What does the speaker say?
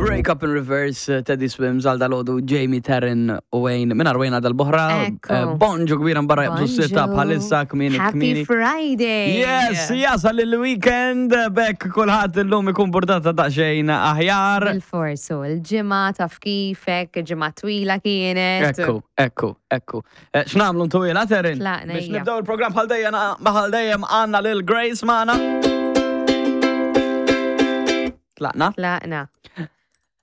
Break Up in Reverse, eh, Teddy Swims għal dalodu, Jamie Taryn u Wayne, minn Wayne għal dal-boħra. Ekku. Eh, Bonġu kbira mbarra jabdu s-sitta Bonġu. bħalissa kmini Happy kmini. Friday! Yes, jasal il-weekend, bekk kulħadd illum ikun burdata daqsxejn aħjar. Bil-forsu, il-ġimgħa taf kifek, ġimgħa twila kienet. Ekku, ekku, ekku. Eh, X'nagħmlu ntwila, Terin? Tlaqna, Biex ejja. nibdew il-programm bħal dejjem bħal dejjem għandna lil Grace magħna. Tlaqna? Tlaqna.